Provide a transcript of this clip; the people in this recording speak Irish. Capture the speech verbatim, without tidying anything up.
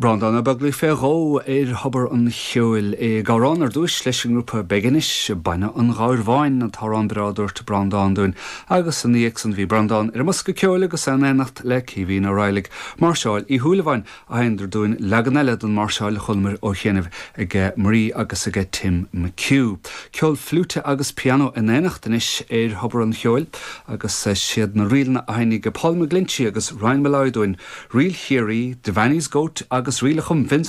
Breandán Ó Beaglaoich fé dhó ar Thobar an Cheoil ag amhrán ar dtús leis an ngrúpa Beginish Bainne an Ghabhair Bháin an t-amhrán breá a dúirt Breandán dúinn agus ina dhiaidh san bhí Breandán ar an mbosca ceoil agus in éineacht le Caoimhín Ó Raghallaigh Máirseáil Uí Shúilleabháin a sheinneadar dúinn leagan eile den máirseáil a chualamar ó chianaibh ag Marie agus ag Tim McHugh. Ceol fliúite agus pianó in éineacht anois ar Thobar an Cheoil agus siad na ríleanna a sheinnfidh Paul McGlinchey agus Ryan Molloy dúinn, Ríl Chiarraí, Devaney's Goat agus ríl a chum Vince